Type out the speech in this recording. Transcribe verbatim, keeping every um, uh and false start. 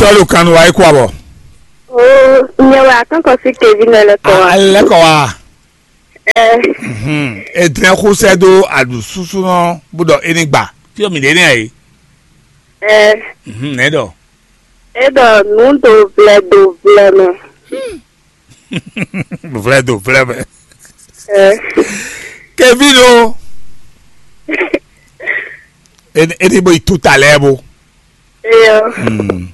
Tɔ́lu kan nu wa é kú abɔ. O, nyɛ wɛ akɔ́nkɔ sí Kevin lɛ kɔ wa. Alẹ́ kɔ wa. Ɛ. Mhm. Edrɛn xusɛ dó aɖu súsúnɔ bó ɖɔ é ní gba. Fí ɔ́ mǐ ɖe nɛ́ ɛ. Ɛ. Mhm, nɛ̌ ɖɔ? É ɖɔ nǔ do vlɛ do vlɛ mɛ. Vlɛ do vlɛ mɛ. Ɛ. Kevin o. É ní bó yi tú ta lɛ́ɛ bó. Eyɔ. Hmm.